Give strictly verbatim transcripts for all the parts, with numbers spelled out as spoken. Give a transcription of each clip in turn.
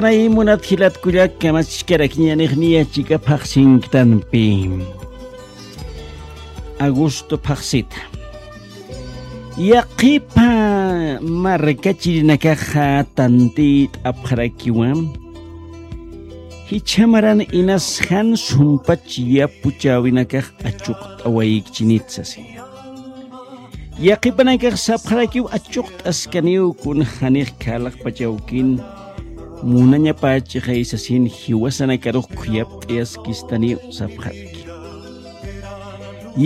Nay munat jilat kullak kamachkarakiñanix niya chika phaxsinktanpi. Agosto phaxsita. Yaqhipa markachirinakaxa tantït'apxarakiwa. Jichhamaran inas jan sumpach yapuchäwinakax achuqt'awayikchinit sasi. Yaqhipanakax sapxarakiw achuqt'askaniw kun janix khalaqpachawkin munañapächixay sasin jiwasanakarux khuyapt'ayaskistaniw sapxaraki.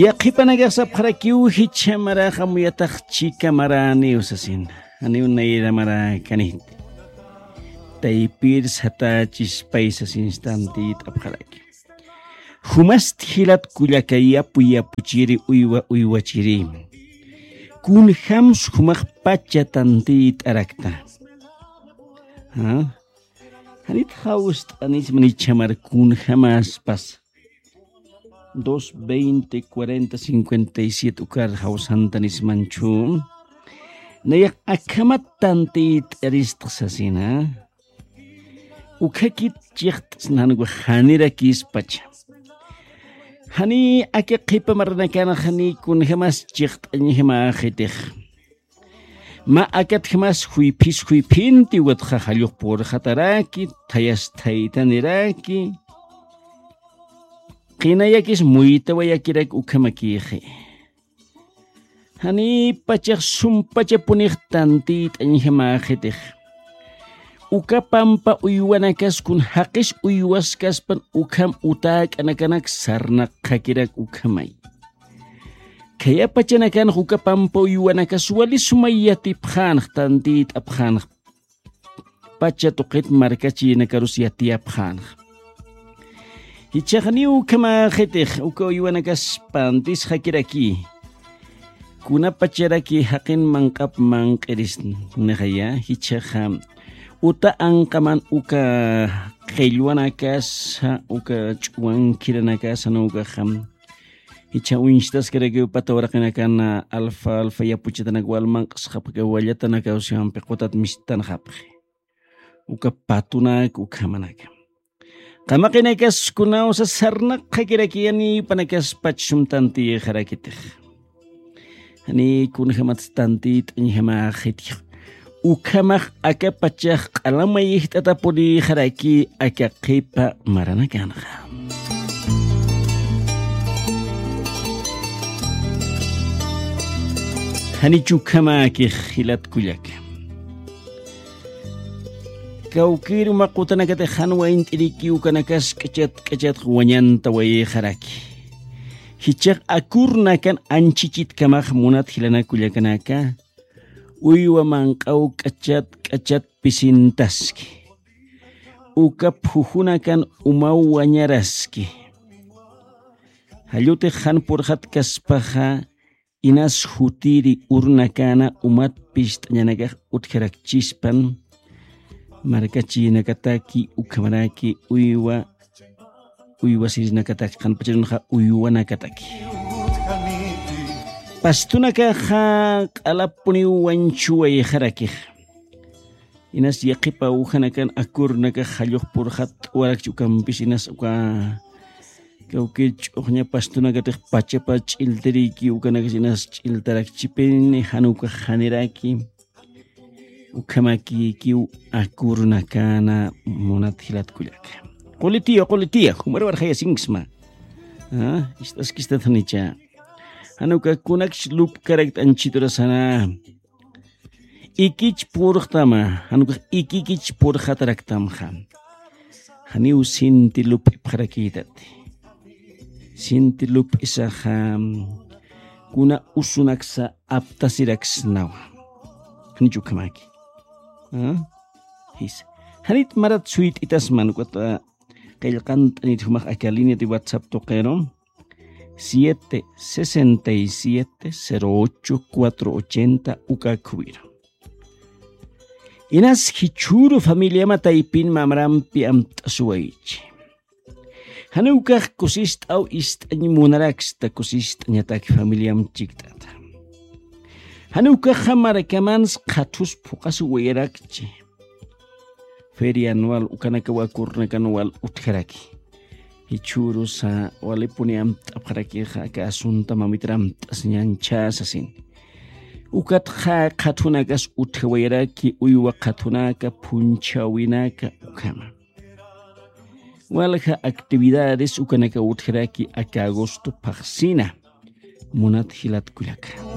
Yaqhipanakax sapxarakiw jichha marax amuyatax chika maräniw sasin. Janiw nayra maräkaniti. Taypir satächispay sasinstantït'apxaraki. Jumasti jilat kullaka yapu yapuchiri uywa uywachiri. Kunjams jumax pacha tantït'arakta. ¿Ah? Janit jawst'anisman jichhamar kunjamäspas. Dos veinte cuarenta cincuenta y siete ukar jawsantanismanchu. Nayax akhamat tantït'aristx sasina. Ukhakit chiqt'sna jan ukax janirakispacha. Jani aka qhipa maranakanxa jani kunjamas chiqt'añjamäxitix. Mä akatjamas juyphis juyphinti ukatxa jallux purxataraki, thayas thaytaniraki. Qinayakis muytawayakiraki ukhamakïxi. Janipachax sumpachapunix tantït'añjamäxitix. Uka pampa uywanakas kun jaqis uywaskaspan ukham utäk'anakanak sarnaqxakirak ukhamay. Khayapachanakanx uka pampa uywanakas wali sumay yatipxänx tantït'apxänx. Pacha tuqit markachinakarus yatiyapxänxa. Jichhaxniw ukhamäxitix uka uywanakas pantisxakiraki. Kunapacharaki jaqin manq'ap manq'irisnixaya jichhaxa. Uta anqaman uka qillwanakasa uka ch'uwankiranakasa nukaxa. Jichha uñstaskarakiw pata uraqinakana alfa alfa yapuchatanak walmanq'sxapxi wallatanakaw siwampi qutat mistanxapxi. Uka patunak ukhamanaka. Qamaqinakas kunawsa sarnaqxakiraki janipanakaspach sum tantiyxarakitix. Jani kunjamat tantiyt'añjamäxitix. Ukhamax aka pachax q'alamayijt'atapunïxaraki aka qhipa maranakanxa. Janich ukhamäkix jilat kullaka. Kawkïr uma qutanakatix jan waynt'iriki ukanakas k'achat k'achatx wañantawayxaraki. Jichhax akurnakan anchichitkamax munat jilanak kullakanaka. Uywa manq'aw k'achat k'achat pisintaski. Uka phujunakan umaw wañaraski. Jallutix jan purxatkaspaxa inas jutiri urnakäna umat pist'añanakax utjarakchispan markachïnakataki ukhamaraki uywa uywasirinakataki qanpacharunxa uywanakataki. Pastunakaxa q'alapuniw wañchuwayxarakix. Inas yaqhipa ujanakan akurunakax jallux purxat t'uwarakchi ukampis inas uka kawkir ch'uxña pastunakatix pachapa ch'iltiriyki ukanakas inas ch'iltarakchipini jan ukax janiraki. Ukhamakïkiw akurunakana munat jilat kullaka. Qulitiya qulitiya jumar warxayasinksma. Ist'askistatanicha. Jan uka kunakch lupkarakta anchiturasana. Ikich purxtama jan ukax ikikich purxataraktamxa. Janiw sinti lup'ipxarakïtati. Sinti lup'isaxa kuna usunaksa aptasiraksnawa. Janich ukhamaki. Jisa. Janit marat suyt'itasman ukata qillqant'anit jumax aka línea de whatsapp tuqiru. Siete sesenta y siete cero ocho cuatro ochenta ukakhuwiru. Inas jichhüru familiama taypin mamrampi amt'asuwaychi. Janiw ukax kusist'aw ist'añ munaraksta kusist'añatak familiam chikt'ata. Janiw ukaxa markamans qhathus phuqasuwayarakchi. feria anual ukanakawa kurnakan wal utjaraki. Jichhürusa walipuni amt'apxarakixa aka asunta mamitar amt'asiñanchä sasin. Ukatxa qhathunakas utjawayaraki uywa qhathunaka phunchhäwinaka ukhama. Walja actividades ukanaka utjaraki aka agosto phaxsina. Munat jilat kullaka.